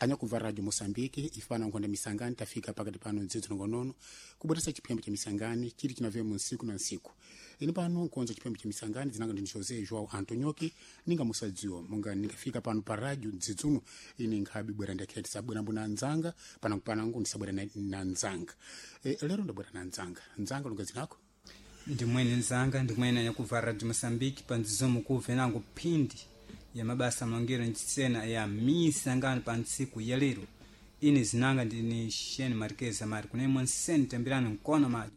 Anyakumva Radio Moçambique ifana nkhonda misangani tafika pakati pano ndzidzi nongonono kubweresa chiphembe cha misangani chili chinavemo nsiku na nsiku. Ine pano nkonza chiphembe cha misangani dzinanga ndini José João Antonioki ninga musadziwa monga ningafika pano pa radio ndzidzuno ine nkhabi bwera ndakheti sabwera mbuna nzanga panangu panangu ndisabwera na nzanga. Lero ndabwera na nzanga. Nzanga lunga zinako? Ndimwene nzanga, ndimwene anyakumva Radio Moçambique pandzizomo kuve nangu phindi ya mabasa malongero ncisena ya misangano pa ntsiku ya lero. Ine zinanga ndini Shane Marquez Amari kunemwe nsene tambirani mkono majo.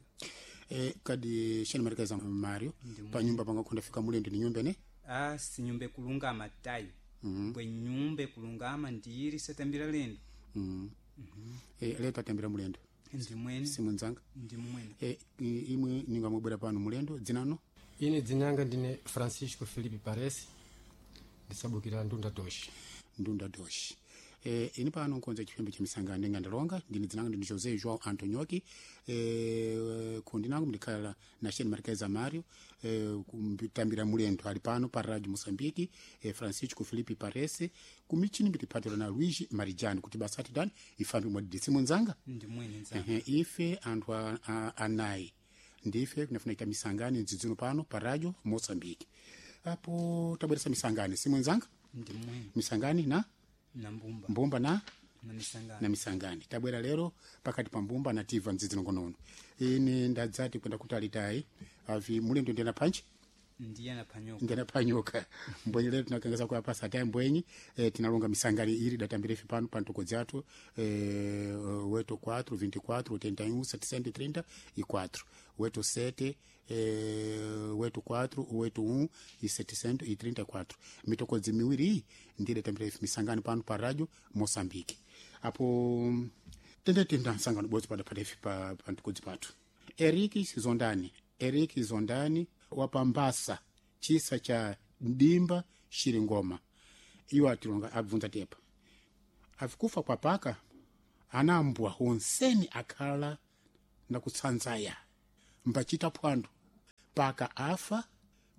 Kadi Shane Marquez Mario pa nyumba pangakhonda fika mulendo ni nyumba ne? Ah, si nyumba kulungama tayo. Bwe nyumba kulungama ndiri satambira lendo. Lero tatambira mulendo. Ndimwene. Simunzanga. Ndimwene. Imwe ningamubwera pano mulendo dzinano? Ine dzinanga ndine Francisco Felipe Paresi ndisabukira Ndunda Doshi. Ndunda Doshi. Ine pano nkonza chiphembe cha misangano ndinga ndalonga ndine dzinanga ndine José João Antonioki. Kundi nangu ndikhala na Shane Marquez Mario, kumbitambira mulendo ali pano pa Radio Moçambique, Francisco Felipe Parese kumichini mbitiphatira na Luigi Marijani kuti basa atidani ifambe mwadidisi munzanga. Ndimwene nzanga. Ife anthu anayi ndife kunafuna ita misangano mdzidzuno pano pa Radio Moçambique. Apo tabweresa misangano simunzanga? Ndimwene. Misangani na na mbumba. Mbumba na na misangani. Na misangani. Tabwera lero pakati pa mbumba na tiva mdzidzi nongonono. Ine ndadzati kwenda kutalitayi avi mulendo ndiyana panchi? Ndiyana panyoka. Ndiyana panyoka. Mbwenyi lero tinakangeza kwa pasa tayi mbwenyi, tinalonga misangani iri datambira ife pano pa ntoko dzathu, 8 4 24 81 734 8 7, 8 4 8 1 e 734. Mitokodzi miwiri iyi ndiye datambira ife misangano pano pa Radio Moçambique. Apo tendetenda nsangano bodzi padapata ife pa ntokodzi pathu. Eric Zondani, Eric Zondani wapambasa chisa cha Ndimba Shiringoma. Iwo atilonga abvunza tepa. Avikufa kwa paka anambwa honseni akhala na kutsanzaya mbachita phwando paka afa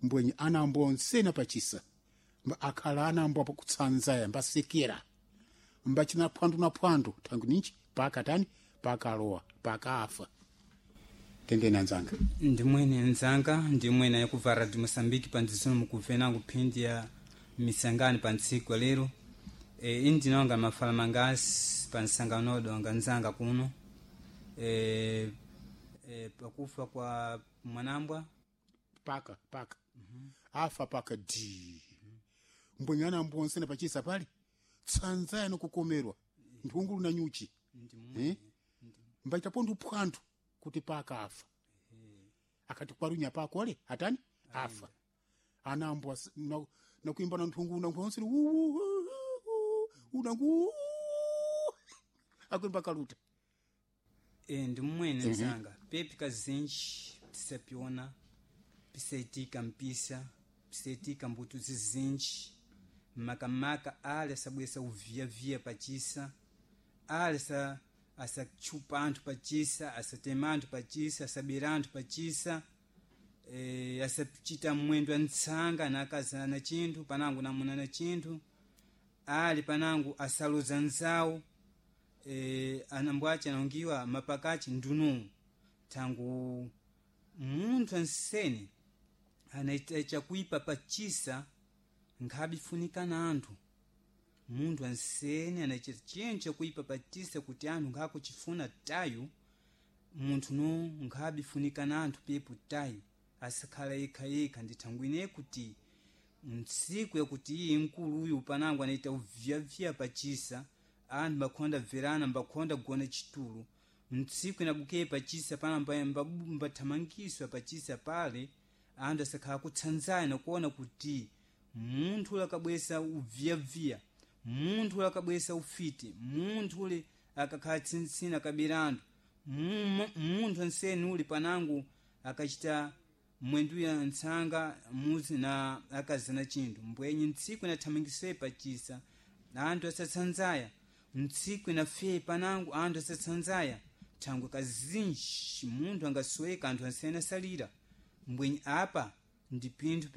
mbwenye anambwa onseni apachisa mba akhala anambwa pakutsanzaya mbasekera mbachina phwando na phwando thangu ninchi paka tani paka alowa paka afa. Tendeni anzanga. Ndimwene nzanga, ndimwene yakubva Radio Moçambique pandzisono mukuve nangu phindi ya misangano pa ntsiku ya lero. Ine ndinonga mafala mangasi pa nsangano odonga nzanga kuno. Pakufa kwa mwanambwa paka paka. Afa paka di. Mbwenye anambwa onsene pachisa pali tsanzaya nokukomerwa nthungulu na nyuchi. Mbaitapo ndi phwando kuti paka afa. Akati kwarunya pakole atani afa. Anambwa na kuimba na nthungulu na onsene unangu akuimba kaluta. Ndi mmwene nzanga. Pepi kazinji tisapiona pisaitika mpisa pisaitika mbuto zizinji makamaka ali asabwesa uviavia pachisa ali asachupa anthu pachisa asatema anthu pachisa asabera anthu pachisa, asachita mwendo wa ntsanga na akazana na chinthu panangu namuna na chinthu ali panangu asaloza nzawo, anambwache anaungiwa mapakachi ndunu thangu munthu ansene anaita chakuipa pachisa nkhabifunika na anthu. Munthu ansene anaita chinthu chakuipa pachisa kuti anthu nkhakuchifuna tayo munthu no nkhabifunika na anthu pepo tayo asakhala yekhayekha. Ndithangu ine kuti ntsiku yakuti iye mkulu uyu panangu anaita uviavia pachisa anthu mbakhonda bverana mbakhonda kugona chitulo ntsiku inabuke pachisa pana mbathamangiswa pachisa pale anthu asakhala kutsanzana kuona kuti munthu ule akabwesa uviavia munthu ule akabwesa ufiti munthu ule akakhala tsintsina akabera anthu munthu anseni ule panangu akachita mwendu ya ntsanga muzi na akazana chinthu mbwenye ntsiku inathamangiswe pachisa anthu asatsanzaya ntsiku inafe panangu anthu asatsanzaya thangwe kazinji munthu angasweka anthu ansene asalira mbwenye apa ndi pinthu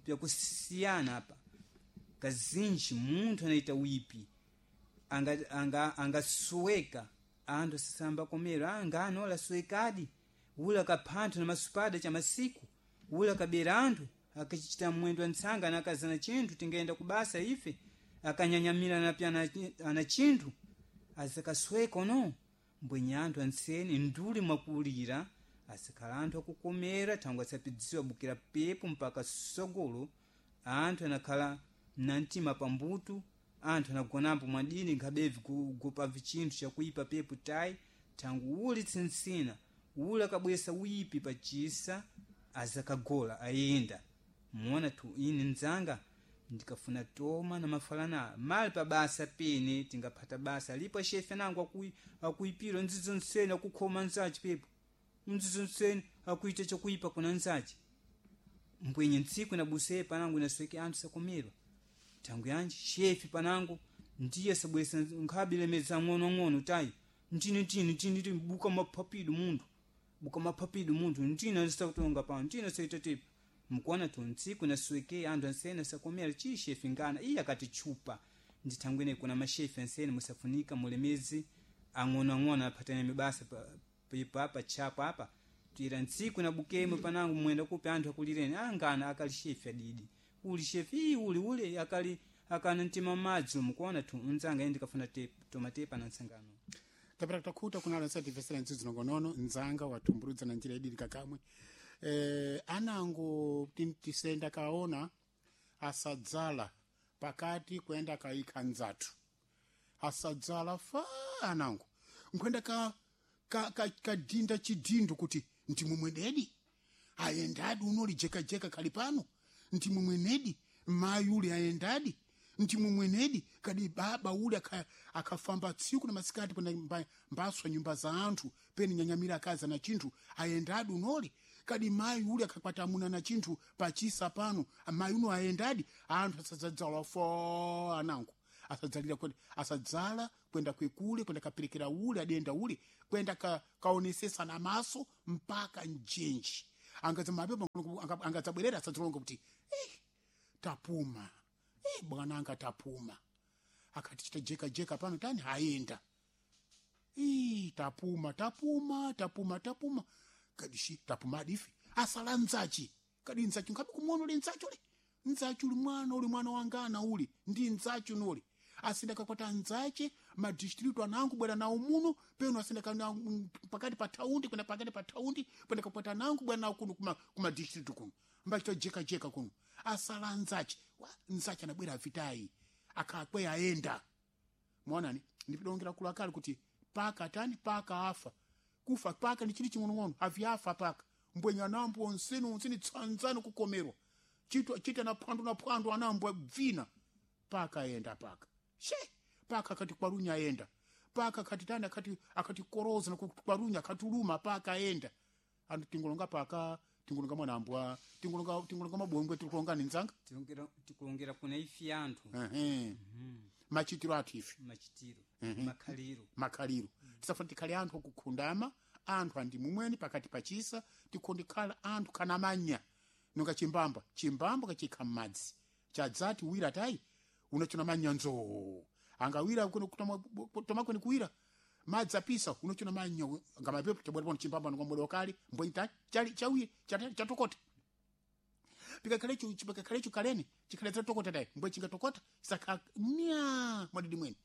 pyakusiyana apa kazinji munthu anaita wipi. Angasuweka anga, anga anthu asasamba komero angano alasuwekadi ula kaphanthu na masupada cha masiku ula kabera anthu akachichita mwendo ntsanga nakazana chinthu tingayenda kubasa ife akanyanyamira napya ana chinthu azakasweka ono mbwenye anthu anseni nduli mwakulira asakhala anthu akukomera thangwe asapidziwa bukira pepo mpaka sogolo. Anthu anakhala na mtima pambutu, anthu anagonambo mwadini nkhabevi kugopa vichinthu chakuipa pepo tayi thangu uli tsinsina uli akabwesa uyipi pachisa azakagola ayenda muona tu ine nzanga ndikafuna toma na mafalana mali pa basa pene tingaphata basa lipo shefe nangu akuipira nzizo nsene akukhoma nzachi pepo nzizo nsene akuita chakuipa kuna nzachi mbwenye ntsiku inabusee panangu inasweke anthu sakomerwa thangu yanji shefi panangu ndiye sabwesa nkhabilemeza ng'ono-ng'ono tayi ntini ntini ntini ntini buka maphapidu munthu buka maphapidu munthu ntini andisakutonga pano ntini asaita tepa mkuona tu ntsiku nasweke anthu ansene asakomera chi shefi ngana iye akati chupa ndithangwene kuna mashefi ansene musafunika mulemezi ang'onoang'ono aphatana mibasa pepa apa tchapo apa tira ntsiku nabukemo panangu mwenda kupi anthu akulireni angana akali shefi adidi uli shefi ii uli ule akali akana mtima madzi mukuona tu nzanga indi kafuna tomatepa na nsangano tapera takhuta kunalo nsativesera ntsidzo nongonono nzanga watumburudza na njira idiri kakamwe anango tisenda kaona asadzala pakati kwenda kaikha nzathu asadzala fa anango nkwenda ka kadhinda chidhindo kuti ndimumwenedi ayendadi unoli jekajeka kali pano ndimumwenedi mayi uli ayendadi ndimumwenedi kadi baba uli akafamba tsiku na masikati kwenda mbaswa nyumba za anthu peni nyanyamira akazi na chinthu ayendadi unoli kadi mayi uli akakwata amuna na chinthu pachisa pano mayi uno ayendadi anthu asadzadzala fo anango asadzalira kwenda asadzala kwenda kwekule kwenda kaperekera ule adenda ule kwenda kaonesesa na maso mpaka njenji angadzamapepa angadzabwerera asadzalonga kuti tapuma bwana anga tapuma akati chita jeka jeka pano tani haenda tapuma tapuma tapuma tapuma kadishi tapuma adifi asala nzachi kadi nzachi nkhabe kumuona uli nzachi uli nzachi uli mwana uli mwana wangana uli ndi nzachi unoli asinda kakwata nzache madistritu anangu bwera nawo muno peno asinda kana pakati pa thaundi kwenda pakati pa thaundi kwenda kakwata nangu bwera nawo kuno kuma distritu kuno mbachita jeka jeka kuno asala nzache nzache anabwera avitayi akakwe aenda mwaonani ndipidongera kulakali kuti paka tani paka afa kufa paka ndi chili ching'onong'ono aviafa paka mbwenya anambo onseni onseni tsanzani kukomerwa chita na phwando na phwando anambo bvina paka ayenda paka she paka akati kwarunya ayenda paka akati tani akati koroza na kwarunya akatuluma paka ayenda antu tingolonga paka tingolonga mwanambwa tingolonga mabongwe tikulonga ni nzanga tikulongera kuna ifi anthu machitiro athu ife machitiro makhaliro makhaliro tisafuna tikhale anthu okukhundama anthu andimumweni pakati pachisa tikhondekhala anthu kana manya nonga chimbamba chimbamba kachikha m'madzi chadzati wira tayi unachona manyanzo angawira tomakwene kuwira madzi apisa unachona manya ngamapepo chabwera pano chimbamba nonga wakale mbwenyi tayi chali chawira chatokota pikakhalecho pikakhalecho kaleni chikhale chatokota tayi mbwe chingatokota saka mnya mwadidi mwene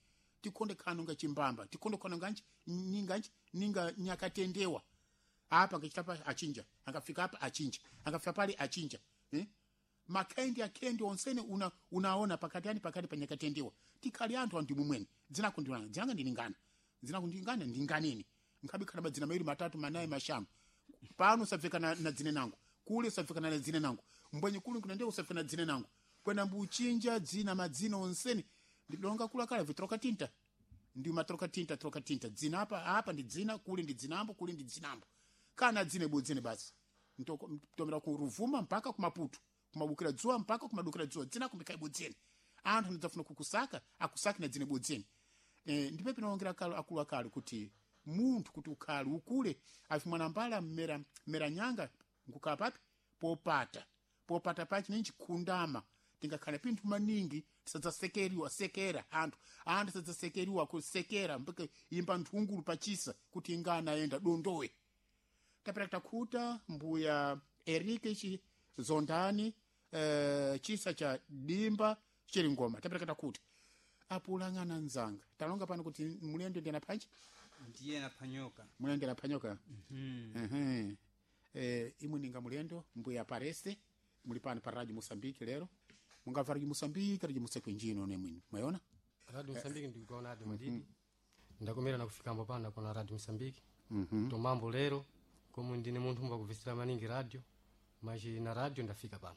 tikhonde khano nga chimbamba tikhonde khano nganji ninganji ninga nyakatendewa apa angachitapa achinja angafika apa achinja angafika pale achinja makhendi akhendi onsene unaona pakati ani pakati pa nyakatendewa tikhali anthu andimu mwene dzinako ndilanga dzinanga ndilingana dzinako ndilingana ndinganeni nkhabe khala madzina mawiri matatu manayi mashanu pano usabveka na dzine nangu kule usabveka na dzine nangu mbwenye kule kuna ndiye usabveka na dzine nangu kwena mbuchinja dzina madzina onsene ndidonga kulakala vitroka tinta ndi matroka tinta troka tinta dzina apa apa ndi dzina kule ndi dzinambo kule ndi dzinambo kana dzine budzine basi ntomera ku Ruvuma mpaka ku Maputo kumabukira dzuwa mpaka kumadukira dzuwa dzina kumikai budzine anthu ndidzafuna kukusaka akusaki na dzine budzine ndipo pinaongera kalo akulu akale kuti munthu kuti ukhale ukule afi mwanambala mmera mmera nyanga nkukhala papi popata popata pachi ninji khundama tingakhala pinthu maningi Tisadzasekeriwa sekera anthu anthu sadzasekeriwa kusekera mpaka imba nthungulu pachisa kuti ingana ayenda dondowe. Tapera takhuta mbuya Erike chi Zondani, chisa cha Dimba chili ngoma. Tapera takhuta apulang'ana nzanga talonga pano kuti mulendo ndi anaphanji Ndiye naphanyoka. Mulendo anaphanyoka. Ehe. Imwe ninga mulendo mbuya Parese muli pano pa Radio Mosambiki lero mungamva Radio Mosambiki, Radio Mosambiki njino nemwini mwayona. Radio Mosambiki ndikuona adi madidi ndakomera na kufikambo pano nakona Radio Mosambiki tomambo lero komu ndine munthu mbakuvisira maningi radio machi na radio ndafika pano.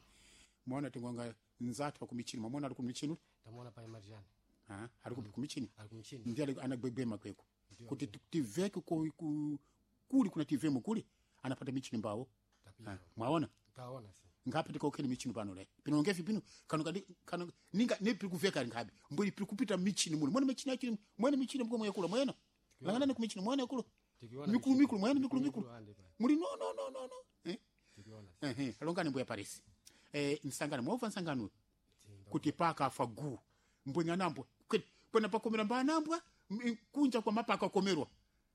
Mwaona tingonga nzathu akumichini, mwamona ali kumichini. Tamuona pa Marjani. Ah, ali kumichini. Ali kumchini. Ndiye anagwegwema kweko kuti tiveke kuli kuna tivemo kuli anapata michini mbawo. Tapita. Ah, mwaona. Kaona si. Ngapi tikokheni michini pano le pino ngefi pino kano kadi kano ninga ne pili kuveka ngapi mbuli pili kupita michini muli mwene michini achini mwene michini mkomo yakula mwena langana ne kumichini mwene yakula. Tikiona mikulu michini. Mikulu mwene mikulu mikulu. Ande pa. Muli no no no no no Tikiona si. Ehe, alongani mbuya Paris, nsangano mwova nsangano kuti paka afa gu mbwenya nambwa kwena pakomera mbanambwa kunja kwa mapaka akomerwa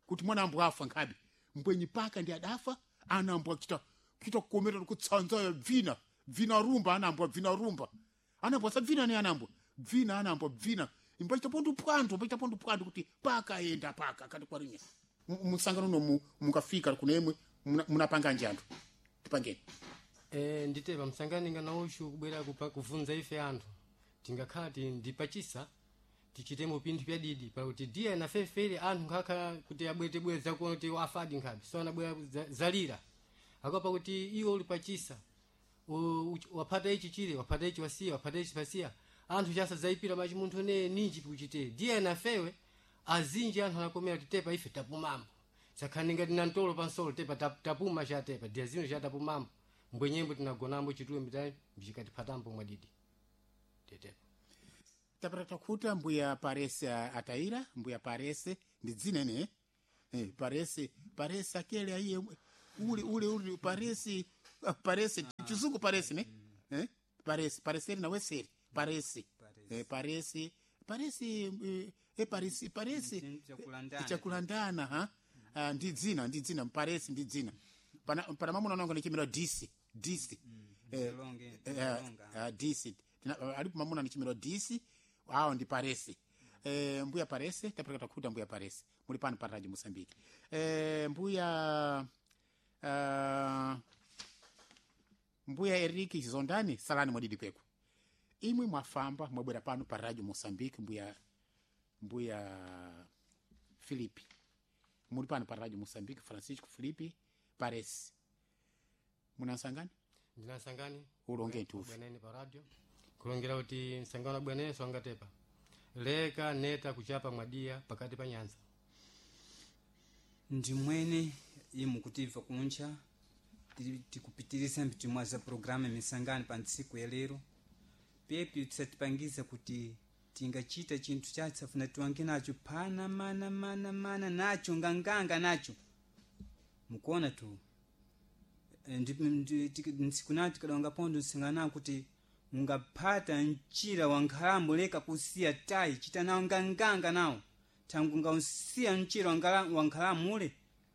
kuti mwana ambwa afa nkhabe mbwenyi paka ndi adafa anambwa kita kita kukomera kutsanza bvina bvina rumba anambwa bvina rumba anambwa sabvina ne anambwa bvina anambwa bvina imbachita pondu pwandu imbachita pondu pwandu kuti paka enda paka kati kwarinya musangano no mukafika kunemwe munapanga njanthu tipangeni. Nditepa msangani ngana ushu kubwera kuvunza ife anthu tingakhala ndipachisa tichitemo pinthu pyadidi pakuti diya nafefere anthu nkhakhala kuti abwetebwera zakuona kuti afadi nkhabe so anabwera zalira akopa kuti iwe uli pachisa waphata ichi chile waphata ichi wasiya waphata ichi pasiya anthu chasa zaipira machi munthu ne ninji pikuchite diya nafewe azinji anthu anakomera kuti tepa ife tapumambo sakhani ngati na ntolo pansolo tepa tapuma chatepa diya zino chatapumambo mbwenyembo tinagonambo chituwe mitayi mchikatiphatambo mwadidi tetepa. Tapata takhuta mbuya Parese ataira mbuya Parese ndi dzina ene Parese Parese akele aiye ule ule ule Parese Parese chizungu Parese ne Parese Pareseri na weseri Parese. Parese. Parese Parese Parese Parese. Chakulandana. Chakulandana ha. Ah, ndi dzina ndi dzina Parese ndi dzina pana pana mamuna nango nichimira DC DC. Mzalonge, mzalonga. DC. Alipo mamuna nichimira DC awo ndi Parese. Mbuya Parese tapeleka takhuta mbuya Parese muli pano pa Radio Mosambiki. Mbuya mbuya Eriki Zondani salani mwadidi kweko imwe mwafamba mwabwera pano pa Radio Mosambiki mbuya mbuya Filipi muli pano pa Radio Mosambiki Francisco Filipi Parese munansangani. Ndinasangani. Ulonge ntufi. Bwanene pa radio kulongera kuti msangano bwanene swangatepa leka neta kuchapa mwadiya pakati pa nyanza. Ndimwene imu kutimva kuncha tikupitirisa mpitimwa za programa misangano pa ntsiku ya lero pepi tisatipangiza kuti tingachita chinthu chatsafuna tiwange nacho phana mana mana mana nacho nganganga nacho mukuona tu. Ntsiku nayo tikadonga pondo nsinganawo kuti ungaphata mchira wa nkhalambo leka kusiya tayi chita nawo nganganga nawo thangu ngausiya mchira wa nkhalambo ule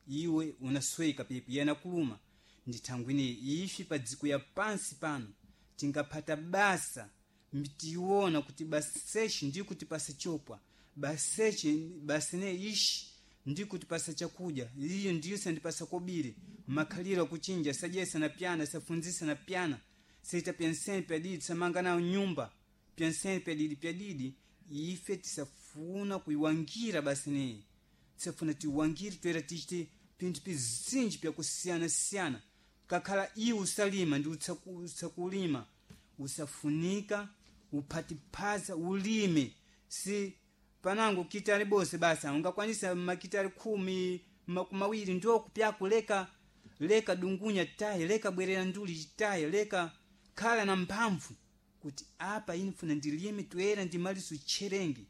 iwe unasweka pepi yena kuluma ndi thangu ineyi ifi pa dziko ya pansi pano tingaphata basa mtiona kuti basechi ndi kuti pasa chopwa basechi basene ishi ndi kuti pasa chakudya iyo ndiyo sandipasa kobiri makhaliro akuchinja sadyesa na pyana safunzisa na pyana saita pyansene pyadidi samanga nayo nyumba pyansene pyadidi pyadidi ife tisafuna kuiwangira basineyi tisafuna tiwangire toera tichite pinthu pizinji pyakusiyana-siyana kakhala iwe usalima ndi utsakulima usafunika uphatiphaza ulime si panango kitali bose basa ungakwanisa makitali 10 20 ndokupyaku leka leka dungunya tayi leka bwerera nduli tayi leka khala na mphamvu kuti apa ine funa ndilime toera ndimaliso utcherengi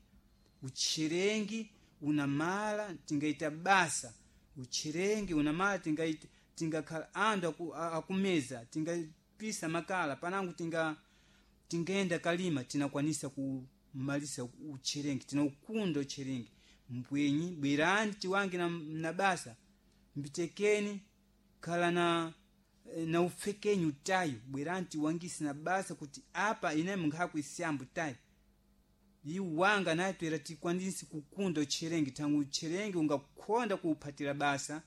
utcherengi unamala tingaita basa utcherengi unamala tingaita tingakhala anthu akumeza tingapisa makala panango Tingenda kalima tinakwanisa kumalisa ucherengi, tinaukunda ucherengi. Mbwenyi bwerani tiwange na basa, mbitekeni khala na ufekenyi utayo, bwerani tiwangise na basa kuti apa ine mnkhakuisyambu tayo iwanga naye twera tikwanise kukunda ucherengi. Tangu ucherengi ungakhonda kuuphatira basa,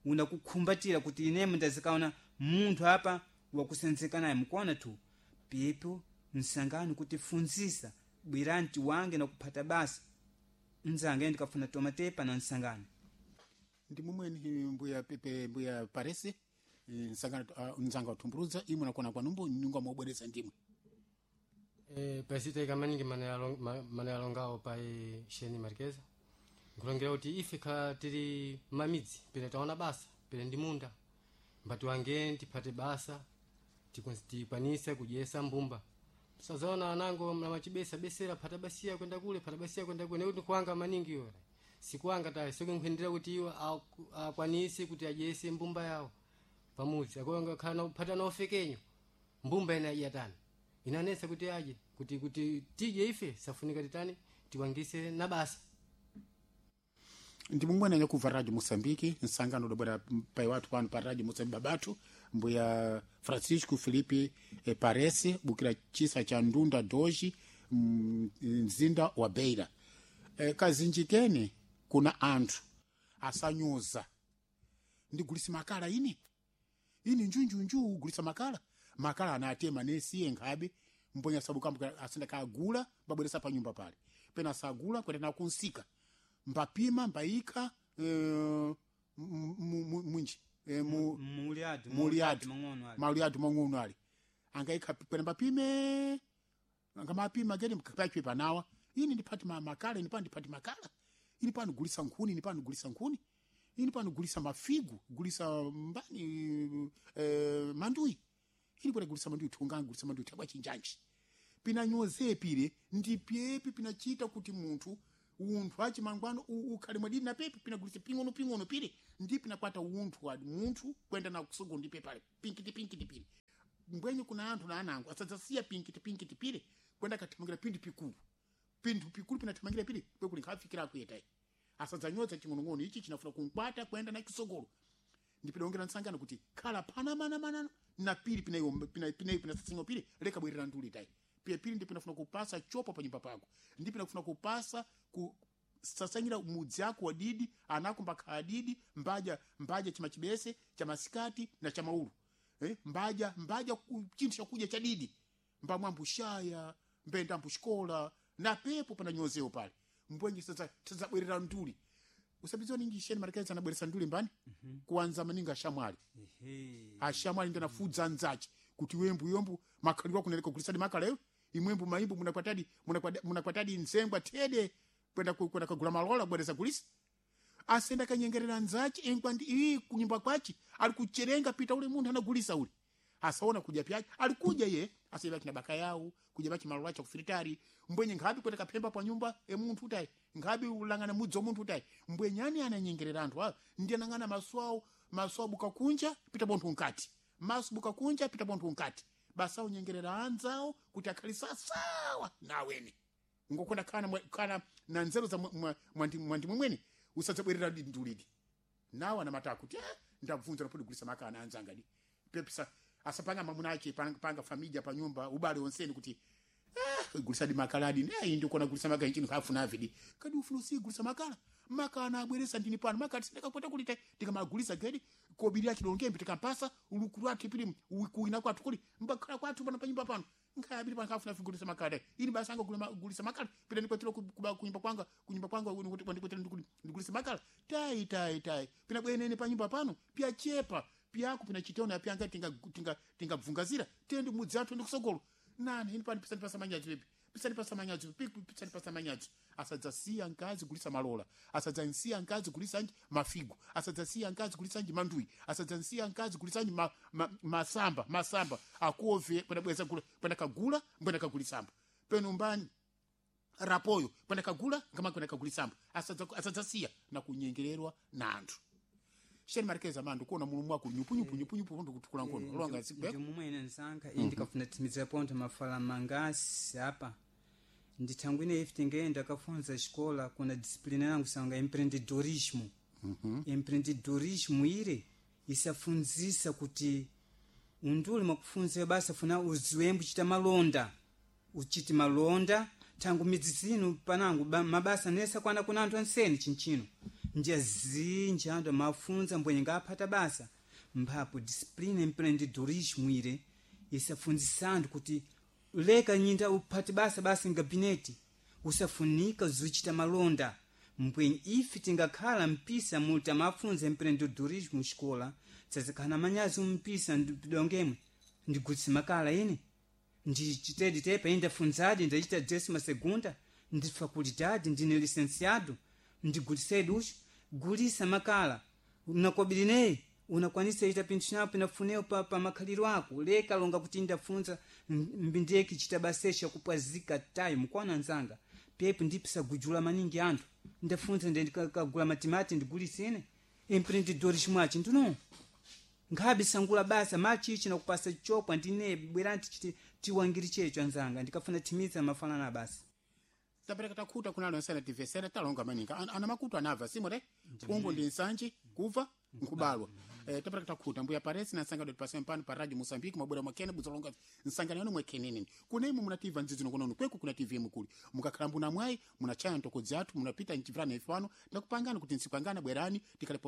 unakukhumbatira kuti inemo ndazikaona munthu apa wakusenzeka naye mukuona tu pepo msangano kutifunzisa bwerani tiwange na kuphata basa. Nzange ndikafuna tomatepa na nsangano. Ndi mumweni mbuya pepe mbuya parese nsangano nzanga utumburuza imwe nakona kwanumbu nyunga mwobweresa ndimwe. Pasita maningi mana yalongawo pa Sheni Marqueza nkulongera kuti ife khala tili mamidzi pene taona basa pene ndi munda mbati wange tiphate basa tikwanise kudyesa mbumba. Sazaona anango mnamachibesa besera phata basiya kwenda kule, phata basiya kwenda kule, nekuti kuanga maningi iwo sikuanga tayi sikunkhendera kuti iwo akwanise kuti adyese mbumba yawo pamudzi. Akonga khala phata na ofekenyo mbumba ina iyatani inanesa kuti aje kuti tidye ife safunika titani tiwangise na basa. Ndi mumwene nyakubva Radio Moçambique nsangano udabwera pai watu pano pa Radio Moçambique babatu mbuya Francisco Felipe Parese bukira chisa cha Ndunda Doji mzinda wa Beira. Kazinjikeni kuna anthu asanyoza ndigulisa makala ini ini njunjunju ugulisa makala makala anatema nesiye nkhabe mponya sabu kambu asenda kagula babweresa pa nyumba pale pena sagula kwenda na kunsika mbapima mbayika mwinji Muliatu muliatu mang'ono ali. mauliatu mang'ono ali angaika pena mbapime ngamapima gedi mpachwe panawa ini ndipati makala ini pano ndipati makala ini pano gulisa nkhuni ini pano gulisa nkhuni ini pano gulisa mafigu gulisa mbani mandui ini pano gulisa mandui thunga gulisa mandui thakwa chinjanji pina nyoze pile ndi pyepi pinachita kuti munthu unthu achimangwano ukhale mwadini na pepi pinagulisa ping'ono ping'ono pile ndi pinakwata unthu wadi munthu kwenda na kusogo ndi pepale pinkiti pinkiti pile mbwenye kuna anthu na anango asadzasiya pinkiti pinkiti pile kwenda kathamangira pinthu pikulu pinthu pikulu pinathamangira pile kwekuli nkhafikira kuyetayi asadzanyoza ching'onong'ono ichi chinafuna kunkwata kwenda na kisogolo ndipidongera nsangano kuti khala pana mana mana na pili pinayo pina pina pina pili leka bwerera nduli tayi pia pili ndipo nafuna kupasa chopo pa nyumba pako ndipo nafuna kupasa ku sasanyira mudzi ako wadidi anakumba khadidi mbaja mbaja chimachibese cha masikati na cha maulu mbaja mbaja chinthu chakuja cha didi mbamwambushaya mbenda mbushikola na pepo pananyozewo pale mbwenje sasa sasa nduli usabizwa ningi sheni marekeza anabweresa nduli mbani kuanza maninga ashamwali. Ehe. Ashamwali ndi anafudza anzace kuti wembu yombu makhaliro akuneleka kulisadi makala eyo imwembu maimbu munakwatadi munakwatadi nzengwa thede kwenda kwenda kagula malola kubwereza kulisa asenda kanyengerera nzace engwa ndi iyi kunyumba kwace ali kucherenga pita ule munthu anagulisa ule asaona kudya pyake alikuja ye asaiba kina baka yawo kudya bachi malola cha kufiritari mbwenye nkhabi kwenda kaphemba pa nyumba e munthu utayi nkhabi ulangana mudzi wa munthu utayi mbwenyani ananyengerera anthu awo ndi anang'ana maso awo maso abuka kunja pita bonthu nkati maso buka kunja pita bonthu nkati basa unyengerera anzawo kuti akhali sasawa naweni ngokonda kana kana na nzeru za mwandi mwemwene usadzabwerera ndulidi nawo anamata kuti ndabvunza napodi gulisa makana anzanga di pepisa asapanga mamuna ache panga familia pa nyumba ubale onseni kuti gulisa di makala adi nayi ndikona gulisa makala nchini kafuna avidi kadi ufuna usiye gulisa makala makala anabweresa ndini pano makala tisindakakwata kulita tikamagulisa gedi kobiri achilongembe tikampasa ulukulu athu pili kuina kwathu kuli mbakhala kwathu pano pa nyumba pano nkhaya abiri pano kafuna gulisa makala ini basi anga gulisa makala pita ndikwatira kunyumba kwanga kunyumba kwanga ndikwatira ndigulisa makala tayi tayi tayi pina bwenene pa nyumba pano piyachepa piyako pina chitona piyanga tinga tinga tingabvungazira tende mudzi athu ndikusogolo nani ini pano pisani pasamanyadzo pipi pisani pasamanyadzo pipi pisani pasamanyadzo asadzasiya nkazi gulisa malola asadzansiya nkazi gulisa nji mafigo asadzasiya nkazi gulisa nji mandui asadzansiya nkazi gulisa nji masamba masamba akuove pena bweza gula pena kagula mbwena kagulisamba peno mbani rapoyo pena kagula ngama pena kagulisamba asadzasiya na kunyengererwa na anthu. Sheni marikeza mandu kuona mulumu wako nyupu nyupu nyupu nyupu pundu kutukula nkono longa sikwe. Ndi mumwene nsanka iyi ndikafuna timiza ponto mafala mangasi apa ndithangwine ife tingenda kafunza xikola kuna disciplina yangu sanga empreendedorismo. Empreendedorismo ire isafunzisa kuti unduli mwakufunza basa funa uziwembu chita malonda, uchiti malonda thangu midzi zinu panangu mabasa nesa kwana kuna anthu ansene chinchino ndiya zinji anthu amafunza mbwenye ngaphata basa mphapo disciplina empreendedorismo ire isafunzisa anthu kuti leka nyinda uphate basa basi ngabineti usafunika zuchita malonda mbwenye ife tingakhala mpisa muti amafunza empreendedorismo xikola tsazikhala manyazi umpisa ndidongemwe ndigulitse makala ine ndichitedi tepa ine ndafunzadi ndachita décima segunda ndi faculdade ndine licenciado ndigulisedi ucho gulisa makala nakobirineyi unakwanisa ita pinthu napo inafuneo pa makhaliro ako leka longa kuti ndafunza mbindeki chita basesha kupwazika tayo mukwana nzanga pepo ndipisagujula maningi anthu ndafunza ndikagula matimati ndigulisine empreendedorismo achi ndino nkhabe sangula basa machichi nakupasa chopwa ndine bwerani tichiti tiwangiri checho anzanga ndikafuna timiza mafanana basa. Tapereka takhuta kunalo nsana tivesera talonga maninga ana makutu anava simore pungu ndi nsanji kuva nkubalwa. Tapereka takhuta mbuya paresi na nsanga dot pasem pano pa radio Mozambique mabwera mwakene buzolonga nsangano yanu mwekhenene kune imwe munativa nzizi nokonono kweku kuna TV mukuli mukakhala mbuna mwayi munachaya ntoko zathu munapita nchivana ifano ndakupangana kuti nsipangana bwerani tikale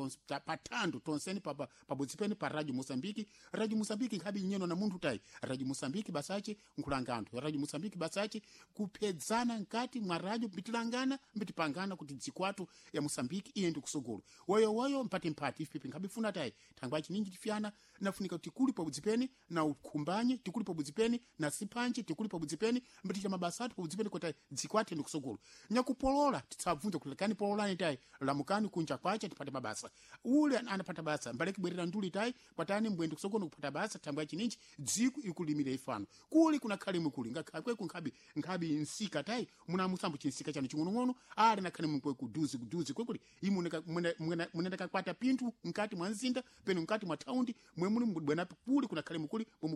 pathandu tonseni pa pabudzi pene pa radio Mozambique. Radio Mozambique nkhabi nyeno na munthu tayi radio Mozambique basache nkulanga anthu radio Mozambique basache kuphedzana nkati mwa radio mbitilangana mbitipangana kuti dzikwatu ya Mozambique iye ndi kusogolo woyo woyo mpati mpati ife nkhabifuna tayi thangwa chininji tifyana nafunika kuti tikuli pabudzi pene na ukhumbanye tikuli pabudzi pene na siphanje tikuli pabudzi pene mbiticha mabasa athu pabudzi pene kuti dzikwati ndi kusogolo nyakupolola titsabvunza kuti lekani pololani tayi lamukani kunja kwacha tipate mabasa ule anapata basa mbaleki bwerera nduli tayi kwatani mbwendi kusogolo kupata basa thangwa chininji dziku ikulimira ifano kuli kunakhale mukuli ngakhale kweku nkhabi nkhabi nsika tayi muna musambo chinsika chanu ching'onong'ono ali nakhale mukwe kuduzi kuduzi kwekuli imwe munenda kakwata pinthu mkati mwa mzinda peno mkati mwa thaundi mwe muli bwana kuli kunakhale mukuli mwe